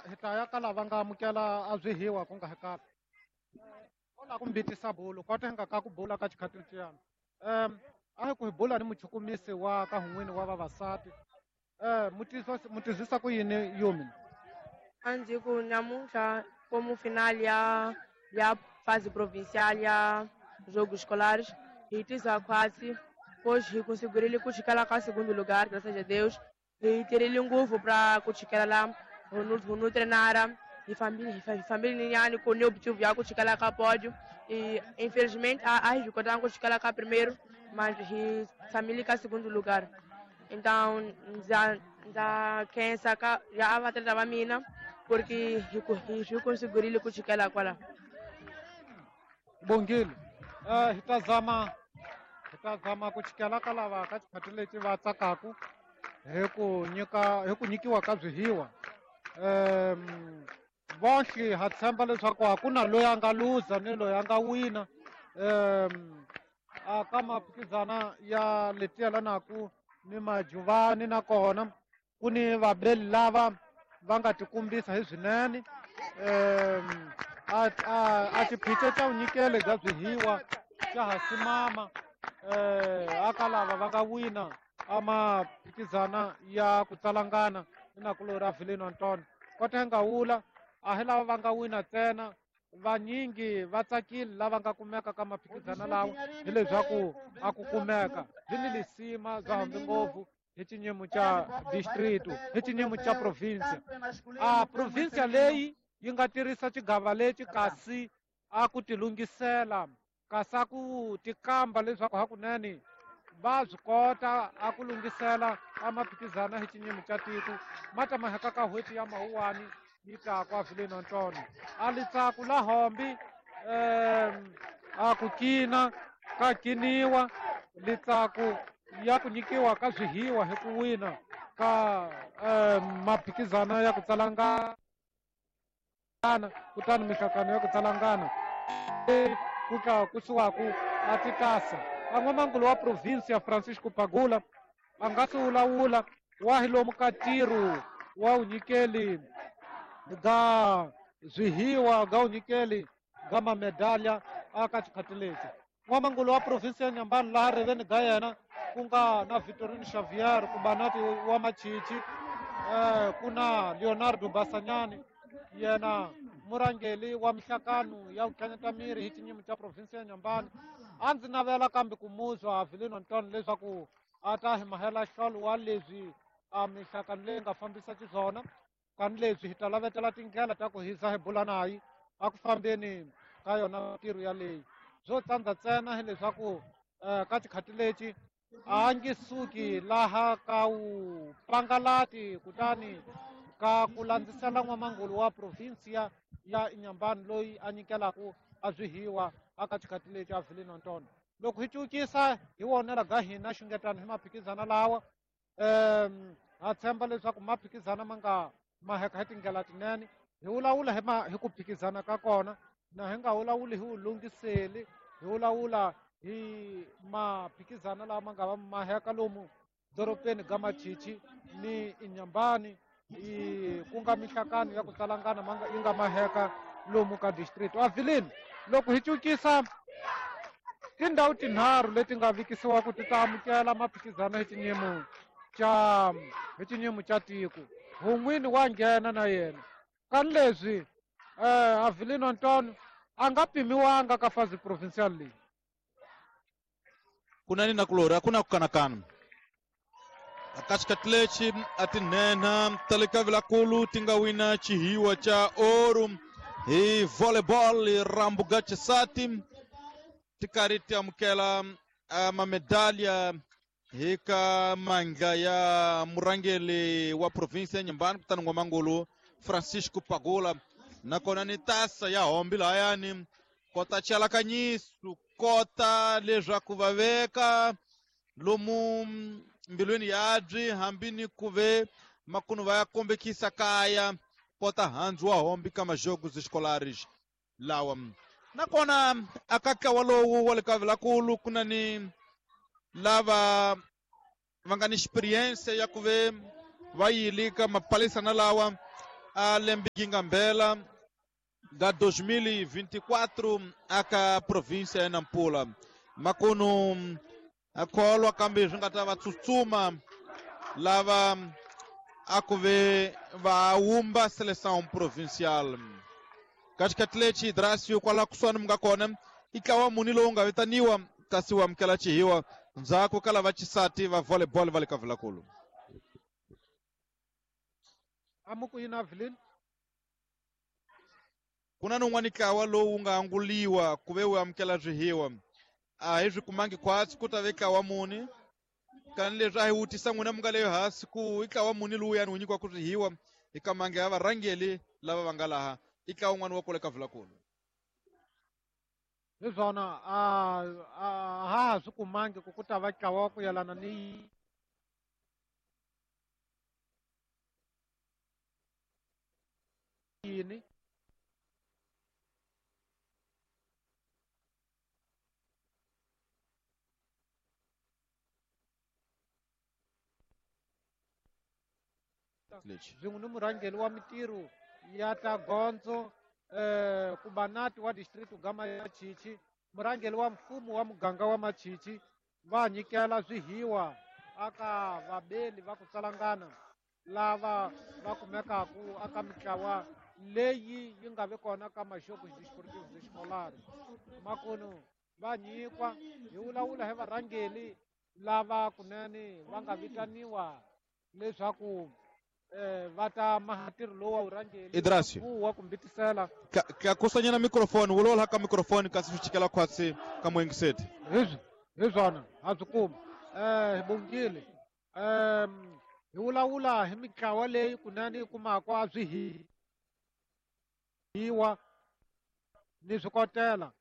Hi ta ya ka lava nga amukela a swihiwa ku nga hi kahle o lava ku mbitisa bulu kota hi nga ka ku bula ka xikhathi lexiyana. A hi ku hi bula ni muchukumisi wa ka hun'wini wa vavasati. Mutizisa ku yini Yumi? A ndzi ku namuntlha como final ya fase provincial ya Jogos Escolares hi tisa khwatsi pois hi conseguirile ku chikela ka segundo lugar, graças a Deus. Hi tirhile ngopfu pra ku chikela la hu treinara hi fambile hi fambile nyana ku ni objetivo ya ku chikela ka pódio e infelizmente a hi swi kotanga ku chikela ka primeiro, mas hi tshamile ka segundo lugar. Então ndza khensa ka ya vatleta va mina porque hi swi conseguirile ku chikela kwala. Bongile. Hi ta zama ku chikela ka lava ka xikhathi lexi va tsakaku hi ku nyika hi ku nyikiwa ka swihiwa. Vonhle ha tshemba leswaku a ku na loyi a nga luza ni loyi a nga wina. A ka maphikizana ya leti yelanaku ni majuvani nakona ku ni vabeli lava va nga tikumbisa hi swinene. A xiphiqo xa vunyikeli bya swihiwa xa ha simama aka lava va nga wina a maphikizana ya ku tsalangana ni nakulorhi a Vilino Antonio. Kota hi nga wula a hi lava va nga wina ntsena, vanyingi va tsakile lava nga kumeka ka maphikizana lawa hileswaku a ku kumeka byi ni lisima bya hambi ngopfu hi xinyimo xa district hi xinyimo xa province. A province leyi yi nga tirhisa xigava lexi kasi a ku tilunghisela kasi a ku tikamba leswaku hakunene va swi kota a ku lunghisela a maphikizana hi xinyimo xa tiko ma ta maheka ka n'hweti ya Mawuwani yi ta kwa Vilino Antonio. A litsaku la hombi a ku kina ka kiniwa litsaku ya ku nyikiwa ka swihiwa hi ku wina ka maphikizana ya ku tsalangana kutani mihlangano ya ku tsalangana ku tlakusiwaku a titasa. A n'wamangulu wa province ya Francisco Pagula a nga si wulawula wa hi lomu ka ntirho wa vunyikeli bya swihiwa bya vunyikeli bya mamedalya aka xikhathi lexi. N'wamangulu wa province ya Nyambani laha riveni ga yena ku nga na Victorine Xavier kumbe Nati wa Machichi, ku na Leonardo Basanyani yena murhangeri wa mihlangano ya ku tlanyeta miri hi xinyimo xa province ya Nyambani. A ndzi navela kambe ku muzwa Vilino Antonio leswaku a ta hi mahela nhlolo wa leswi a mihlangano leyi nga fambisa xiswona, kani leswi hi ta lavetela tindlela ta ku hisa hi bula nayi a ku fambeni ka yona mintirho yaleyi. Byo tsandza ntsena hileswaku ka xikhathi lexi a nge suki laha ka wu pangalati kutani ka ku landzisela n'wamangulu wa provinsia ya Inhambane loyi a nyikelaku a swihiwa aka xikhathi lexi a Vilino Antonio. Loko hi cukisa hi wonela ga hina xungetano hi maphikizana lawa, ha tshemba leswaku maphikizana ma nga maheka hi tindlela tinene. Hi vulavula hi ku phikizana ka kona na hi nga vulavuli hi vulungiseli, hi vulavula hi maphikizana lawa ma nga va maheka lomu dorobeni ga Machichi ni Inhambane, ku nga mihlangano ya ku tsalangana yi nga maheka lomu ka district. Avilini, loko hi cukisa tindhawu tinharhu leti nga vikisiwa ku ti ta amukela maphikizano hi xinyimo xa tiko, hun'wini wa nghena na yena. Kani leswi Avelino Antonio a nga pimiwanga ka fazi provincial leyi. Kuna ni nakulorhi, a ku na ku kanakana. Ka xikhathi lexi a tinhenha ta le ka Vilakulu ti nga wina xihiwa xa oru hi volleyball Rambuga Chisati ti karhi ti amukela mamedalya hi ka mandla ya murhangeri wa province ya Inhambane kutani n'wamangulu Francisco Pagula, nakona ni tasa ya hombi lahayani kota chalakanyiso kota leswaku va veka lomu mbilwini yabyi hambi ni ku ve makunu va ya kombekisa kaya kota handzu wa hombi ka majogos escolares lawa. Nakona aka ntlawa lowu wa le ka Vilakulu ku na ni lava va nga ni experience ya ku ve va yile ka mapalisana lawa. a lembe Gingambela ga 2024 aka província ya Nampula. Makunu a kholwa kambe swi nga ta va tsutsuma lava a ku ve va wumba seleção provincial. Ka xikhathi lexi Drasio kwala kusuhani mi nga kona i ntlawa muni lowu nga vitaniwa kasi wu amukela xihiwa ndzhaku ka lava xisati va volleyball va le ka Vilakulu. Amuku yini Avelin? Ku na nun'wani ntlawa lowu nga anguliwa ku ve wu amukela swihiwa a hi swi kumangi khwatsi ku ta ve ntlawa muni kani leswi a hi vutisa n'wina mi nga leyo hansi ku i ntlawa muni lowuyani wu nyikiwaka swihiwa eka mange ya varhangeli lava va nga laha i ntlawa wun'wani wa kule ka Vilakulu. Hi swona a ha ha swi kumangi ku ta va ntlawa wa ku yelana ni yini. Swin'we ni murhangeri wa mitirho ya ta gondzo kubanati wa district ga Machichi, murhangeri wa mfumo wa muganga wa Machichi va nyikela swihiwa aka vabeli va ku tsalangana lava va kumekaku aka mitlawa leyi yi nga vi kona ka maxoku desportivos escolares. Makunu va nyikwa hi vulavula hi varhangeri lava kunene va nga vitaniwa leswaku va ta maha ntirho lowu wa vurhangeri Idrasio. wa kumbitisela. Tlakusanyana microphone vulavula ka microphone kasi swi chikela khwatsi ka muyingiseti. Hi swona ha swi kuma. Hi bongile. Hi vulavula hi mitlawa leyi kunene yi kumaka a swi hiwa ni swikotela.